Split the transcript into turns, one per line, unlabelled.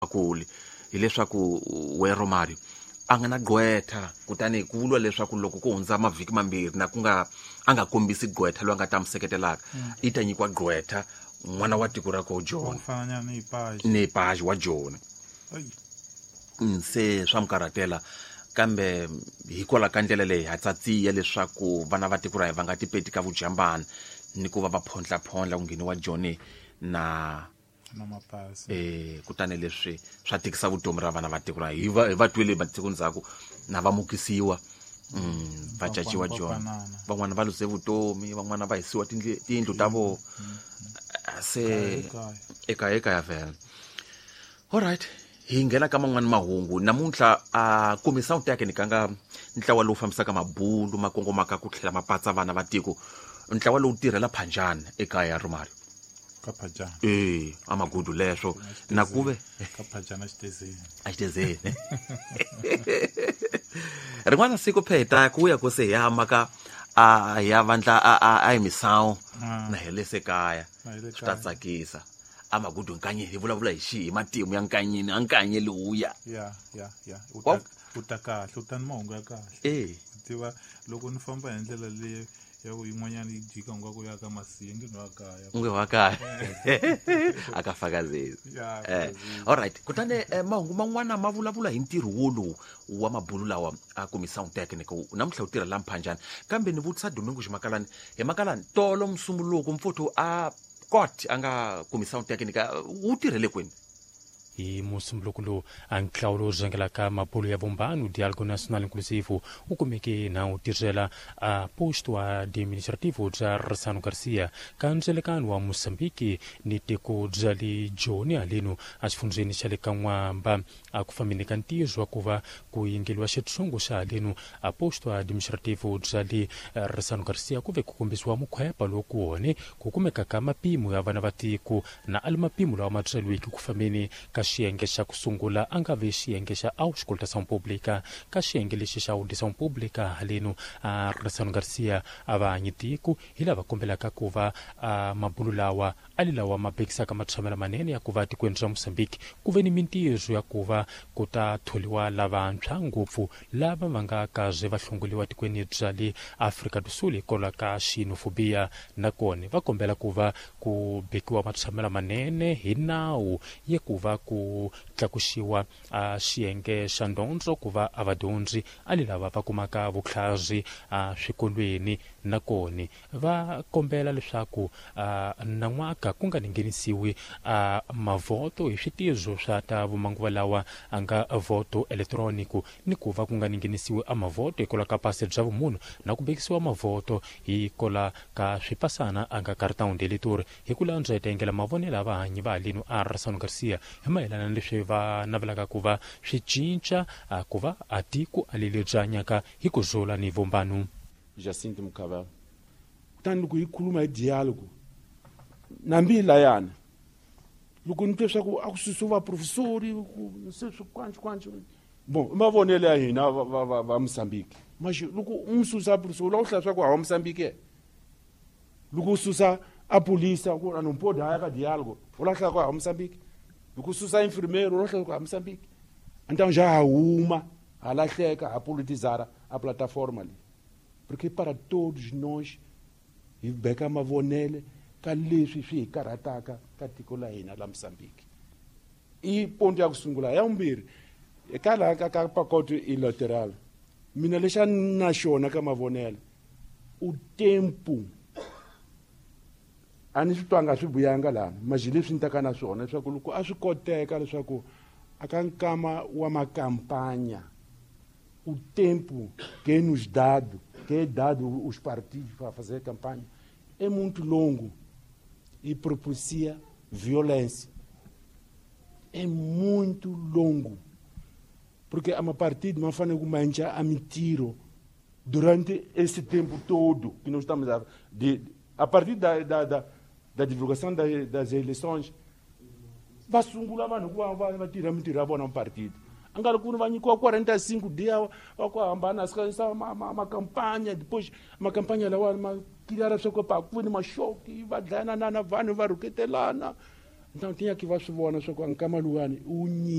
Kuli hileswaku we Romario a nga na gqwetha, kutani ku vuriwa leswaku loko ku hundza mavhiki mambirhi na ku nga a nga kombisi gqwetha loyi a nga ta mi seketelaka, i ta nyikiwa gqwetha n'wana wa tiko ra ko Joni, ni Paji wa Joni. Se swa mi karhatela, kambe hikwalaho ka ndlela leyi ha tsatsiya leswaku vana va tiko ra hina va nga tipeti ka vujambana ni ku va va phondlaphondla ku ngheniwa Joni na
na mapasi.
Kutani leswi swa tikisa vutomi ra vana va tiko ra hi va twile matiko ndzhaku na va mukisiwa, va caciwa Joni, van'wana va luze vutomi, van'wana va hisiwa tindlu ta vona se ekaya ekaya vhele. Alright, hi nghena ka man'wani mahungu namuntlha. A komisa u ni kanga ntlawa lowu fambisaka mabulu ma kongomaka ku tlhela ma patsa vana va tiko, ntlawa lowu tirhela Phanjani ekaya Romario.
Ka Phajana.
A magudu leswo na kuve
ka Phajana xitezeni.
A xitezeni rin'wana siku pheta ku ya ku se hi ya maka a ya vandla a hi misawu na hi le se kaya, swi ta tsakisa. A magudu nkanye hi vulavula hi xihi hi matimu ya nkanyeni a nkanye lowuya.
Ya ya ya, u ta kahle, u ta ni mahungu ya kahle. Tiva loko ni famba hi ndlela leyi ya ku yin'wanyana yi jika nga ku ya ka Masiya nge wa kaya.
Nge wa kaya a ka fakazeli. Alright, kutani mahungu man'wana ma vulavula hi ntirho wolowu wa mabulu lawa a kumisa technical namuntlha wu tirha la Mphanjani. Kambe ni vutisa Domingo Ximakalani hi Makalani, tolo Musumbuluko mfuthu a kot a nga kumisa technical wu tirhele kwini?
Hi Musumbuluko lowu, a ntlawa lowu rhangelaka mabulu ya vumbano Dialogo Nacional Inclusivo wu kumeke na wu tirhela a posto administrativo bya Ressano Garcia ka ndzelekano wa Mozambique ni tiko bya le Joni haleno exifundzheni xa le ka N'wamba. A ku fambeni ka ntirho wa ku va ku yingeliwa xitshungu xa haleno a posto administrativo bya le Ressano Garcia, ku ve ku kombisiwa mukhwepa lowu ku wone ku kumeka ka mapimo ya vana va tiko na a li mapimo lawa ma tsweliweke ku fambeni ka xiyenge xa ku sungula a nga ve xiyenge xa Auscultação Pública. Ka xiyenge lexi xa Audição Pública haleno a Ressano Garcia, a va hanyi tiko hi lava kombelaka ku va a mabulu lawa a li lawa ma bekisaka matshamelo manene ya ku va tikweni ra Mozambique ku ve ni mintirho ya ku va ku ta tholiwa lavantshwa ngopfu lava va nga kaze va hlongoliwa tikweni bya le Afrika do Sul hikwalaho ka xenofobia. Nakona va kombela ku va ku bekiwa matshamelo manene hi nawu ya ku va ku tlakuxiwa a xiyenge xa ndondzo ku va a vadyondzi a li lava va kumaka vutlhari a swikolweni. Nakona va kombela leswaku nan'waka ku nga nghenisiwi a mavhoto hi switirho swa ta vumanguva lawa a nga voto elektroniki, ni ku va ku nga nghenisiwi a mavhoto hikwalaho ka pasi bya vumunhu na ku bekisiwa mavhoto hikwalaho ka swipasana a nga cartão de eleitor. Hi ku landza hi ta yingela mavonelo ya vahanyi va haleno a Ressano Garcia hi mayelana na leswi va navelaka ku va swi cinca ku va a tiko a leli byi hanyaka hi ku zula ni vumbano.
Jacinto Mukhabela. Kutani loko hi khuluma hi dialogue nambi layana loko ni twe swa ku a ku susiwa vaprofesori se swi kwanci bon i mavonelo ya hina va Mozambique. Maxi loko u n'wi susa professor la u hlaya swa ku hawa Mozambique, loko u susa a polisa ku a não pode haya ka dialogue u lahla ku hawa Mozambique, loko u susa enfermeiro u lahla ku hawa Mozambique. Então já huma ha lahleka ha politizara a plataforma leyi, porque para todos nós hi beka mavonele ka leswi swi hi karhataka ka tiko la hina la Mozambique. I ponto ya ku sungula. Ya vumbirhi, eka laha ka pacote electoral, mina lexa na xona ka mavonelo u tempo a ni swi twanga swi vuyanga laha maji leswi ni taka na swona leswaku loko a swi koteka leswaku a ka nkama wa makampanya o tempo que é nos dado, que é dado os partidos para fazer campanha, é muito longo e propicia violência. É muito longo. Porque a partido não faz mancha a mentira durante esse tempo todo que nós estamos a partir da divulgação das eleições, va sungula vanhu ku va tirha mintirho ya vona partido. A nga ri ku va nyikiwa 45 dias va ku hambana sa makampanya, depois makampanya lawa ma cleara swa ku pa ku ni maxoki va dlayana na vanhu va rhuketelana. Nta ti nyaki va swi vona swa ku nkama luwani u.